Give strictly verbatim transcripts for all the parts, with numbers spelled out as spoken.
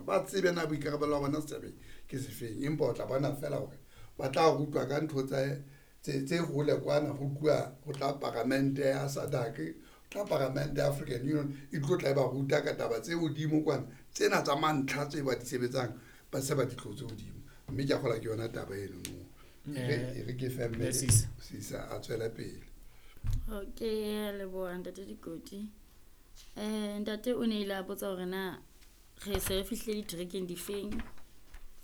Ba tsebe na boikarabelo ba bona setjhabeng ke sefeng. Empa o tla bona feela hore ba tla rutwa ka ntho tse tse tse hole kwana ho tluwa ho tla paramente ya SADC, ho tla paramente ya African Union e tlo tla e ba ruta ka taba tse hodimo kwana. Tsena tsa mantlha tse ba di sebetsang ba se ba di tlotse hodimo. Mme ke a kgolwa ke yona taba eno. E re e re ke fe mme Sisa. Sisa a tswele pele. Okay, leboha ntate Dikoti. Eh ntate o ne ile a botsa hore na re se re fihlile diterekeng difeng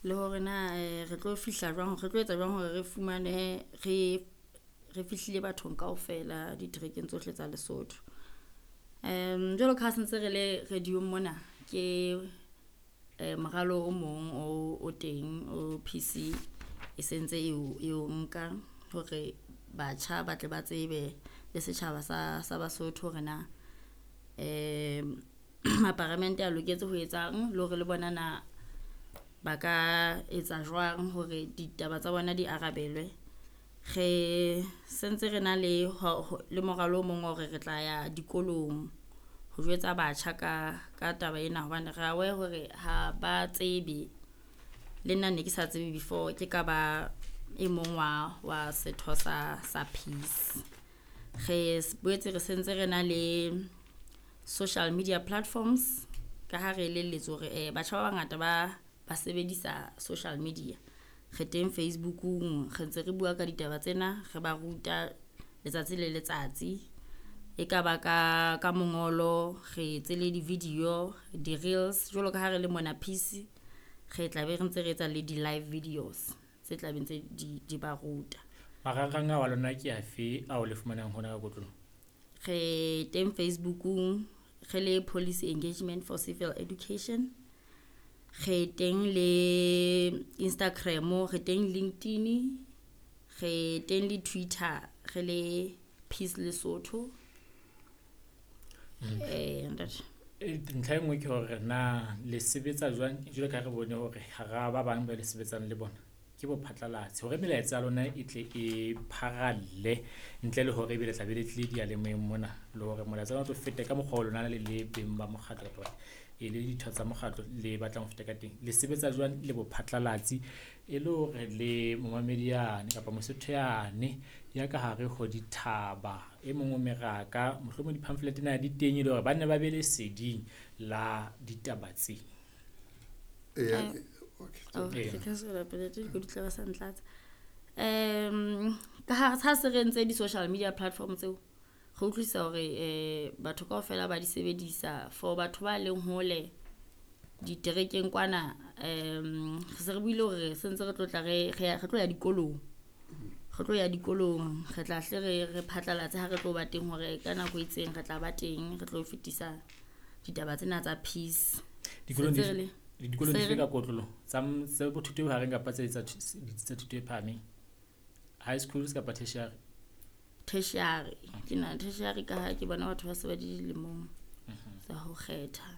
le hore na eh, re tlo fihla jwang, re tlo etsa jwang hore re fumane re re fihlile bathong kaofela diterekeng tsohle tsa Lesotho. Um jwalo ka ha sentse re le radio mona ke eh moralo o mong o o teng o P C e sentse e o e o nka hore batjha ba tle ba tsebe le setjhaba sa sa Basotho hore na um maparamente a loketse ho etsang le hore le bona na ba ka etsa jwang hore ditaba tsa bona di arabelwe. Re sentse re na le ho- ho- le moralo o mong wa hore re tla ya dikolong ho jwetsa batjha ka ka taba ena hobane re aware hore ha ba tsebe. Le nna ne ke sa tsebe before ke ka ba e mong wa wa setho sa sa peace. Re s- boetse re sentse re na le social media platforms ka ha re elelletswe hore eh batjha ba bangata ba ba sebedisa social media. Re teng Facebookung, re ntse re bua ka ditaba tsena, re ba ruta letsatsi le letsatsi. E ka ba ka ka mongolo, re etse le di-video, di-reels jwalo ka ha re le mona Peace, re tla be re ntse re etsa le di-live videos tse tla beng tse di di ba ruta. Marangrang ao a lona ke afe ao le fumanang hona ka kotloloho? Re teng Facebookung re le Policy Engagement for Civil Education. Re teng le Instagram, re teng LinkedIn, re teng le Twitter, re le Peace Lesotho. Eh ntate. E, ntlha e nngwe ke hore na le sebetsa jwang jwalo ka ha re bone hore hara ba bang ba le sebetsang le bona ke bo phatlalatsi hore melaetsa ya lona e tle e pharalle ntle le hore ebe le tla be le tlile diyalemoyeng mona le hore molaetsa ona o tlo fete ka mokgwa o lona le le beng ba mokgatlo kapa e le ditho tsa mokgatlo le batlang ho feta ka teng. Le sebetsa jwang le bo phatlalatsi e le hore le momamedi yane kapa Mosotho yane ya ka hare ho dithaba e mong o meraka mohlomong di-pamphlet na di teng e le hore ba nne ba be leseding la ditaba tse. Eya, Eh, okay. Oh, Ee. ke tla tswela pele tse dikoti tla ba sa ntlatsa. Um ka ha ha se re entse di-social media platform tseo, re utlwisisa hore eh batho kaofela ba di sebedisa for batho ba leng hole diterekeng kwana. um re se re buile hore sentse re tlo tla re re ya- re tlo ya dikolong. Re tlo ya dikolong, re tla hle re re phatlalatse ha re tlo ba teng hore ka nako e itseng re tla ba teng, re tlo fetisa ditaba tsena tsa peace. Dikolong Sentse dife re le dikolong se dife re- ka kotloloho tsa m- tsa bo thuto e bohareng kapa tse tsa thu- ditsi tsa thuto e phahameng, high schools kapa tertiary? Tertiary ke na tertiary ka ha ke bona batho ba se ba di dilemong tsa ho kgetha.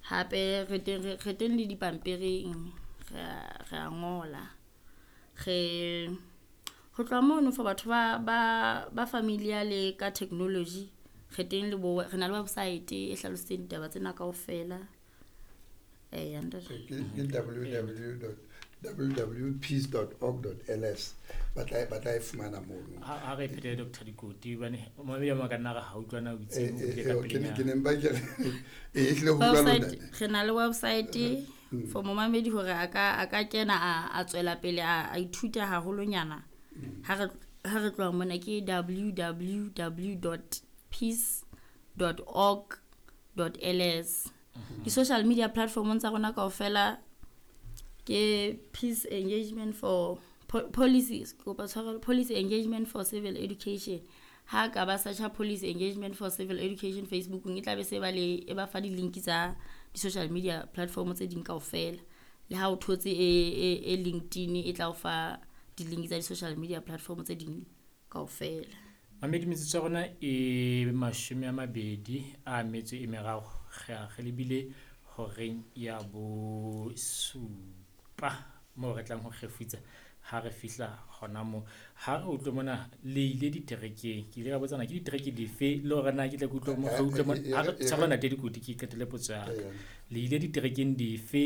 Hape re teng re re teng le dipampiring, re a re a ngola. Re ho tloha mono for batho ba ba ba familiar le ka technology, re teng le bo re na le website e hlalositseng ditaba tsena kaofela. Eh ntate. Ke ke w w w dot w w peace dot org dot l s ba tla ba tla e fumana mono. Ha ha re e phetele Doctor Dikoti hobane momamedi a mong a ka nna re ha utlwana o itse Eh, o eh, bile ka eh, ke ne pelenyana. Ke ne mpa ke re e ehlile ho utlwa Website lona. Re na le website for momamedi hore a ka a ka kena a a tswela pele a a ithuta haholonyana. Ha re ha re tloha mona ke w w w dot peace dot org dot l s. Di-social media platformong tsa rona kaofela ke Peace Engagement for po Policy, kopa tshwarelo, Policy Engagement for Civil Education. Ha ka ba search-a Policy Engagement for Civil Education Facebookong, e tla be se ba le e ba fa di-link tsa di-social media platform tse ding kaofela. Le ha o thotse e e e LinkedIn e tla o fa di-link tsa di-social media platform tse ding kaofela. Mamedi, metsotso ya rona e mashome a mabedi a metso e meraro re a re lebile horeng ya bosupa moo re tlang ho kgefutsa ha re fihla hona moo. Ha re utlwe mona le ile diterekeng, ke ile ka botsana ke ditereke dife le hore na ke tle ke utlwe mo- re utlwe mo- ha re tshwarela ntate Dikoti ke qetelle potso ya ka. Le ile diterekeng dife?